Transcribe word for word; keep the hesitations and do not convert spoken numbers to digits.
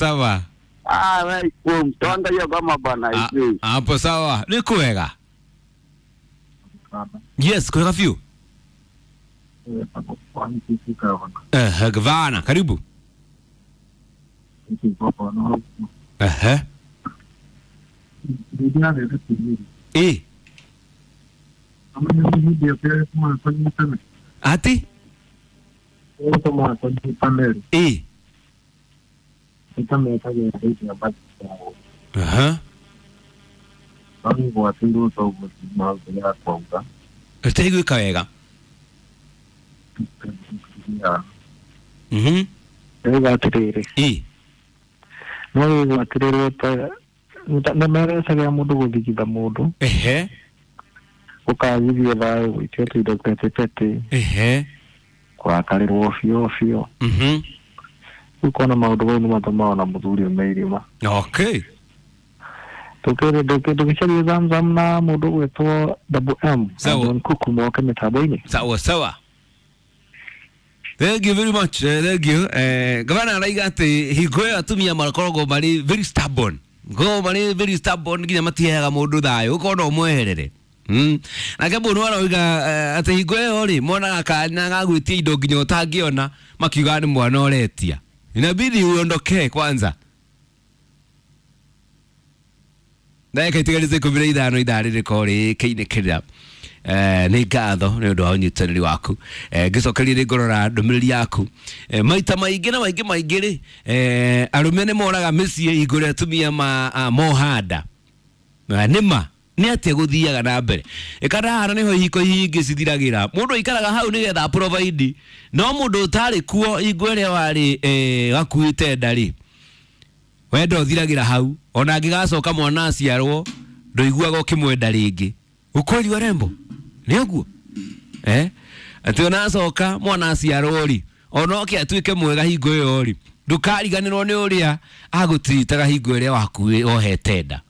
Sawa. Ah, wewe mtonda hiyo kama bana Ah, hivi. hapo sawa. Nĩ kwega. Yes, kwega biũ. Ehe, gavana, karibu. Ehe. Eh, ati? Eh. Aha. Ĩtaiguĩka wega. Mhm. Ndĩrauga atĩrĩrĩ, Eh. no wĩgwatĩrĩrwo ta nĩmerecagĩra mũndũ gũthigitha mũndũ Ehe. ũkagithio thayũ gũitio tũindo petĩpetĩ Ehe. kũrakarĩrwo biũ biũ. Mhm. Rĩu kona maũndũ mau nĩ matũmaga ona mũthuri ume irima. Okay. Ndũgĩcarie Zamzam na mũndũ ũgwĩtwo Double M na Sawa. John Kuku moke mĩtambo-inĩ. Sawa sawa. Thank you very much. Uh, thank you. Eh, gavana araiga atĩ hingo ĩyo atumia makoragwo marĩ very stubborn. Makoragwo marĩ very stubborn nginya matiheaga mũndũ thayũ ũkona ũmweherere. Mm. Nake mũndũ aroiga eh, atĩ hingo ĩyo rĩ monaga kanya ga gwĩtia indo nginya ũtangĩona makiuga nĩ mwana ũretia. Inabidi uondokee kwanza. Ndagĩka itigarĩte ikũmi na ithano ithaa rĩrĩkorwo rĩkĩinĩkĩrĩra. Eh, nĩ ngatho nĩ ũndũ wa ũnyitanĩri waku. Eh, ngĩcokeria nĩ ngũrora ndũmĩrĩri yaku. Eh, maita maingĩ na maingĩ maingĩ rĩ, eh, arũme nĩ moraga mĩciĩ hingo ĩrĩa atumia ma, a, mohanda. Na nĩ ma nĩ atĩa gũthiaga na mbere ĩkana nĩho ihiko ingĩ cithiragĩra mũndũ aikaraga hau nĩgetha provide no mũndũ ũtarĩ kuo hingo ĩrĩa warĩ eh, gakuĩte nda rĩ wendo ũthiragĩra hau ona angĩgacoka mwana aciarwo ndũiguaga ũkĩmwenda rĩngĩ ukweli wa rembo nĩ ũguo eh atĩ ona acoka mwana aciarwo rĩ ona oke atuĩke mwega hingo ĩyo rĩ ndũkariganĩrwo nĩ ũrĩa agũtiritaga hingo ĩrĩa wakuĩ wohete nda.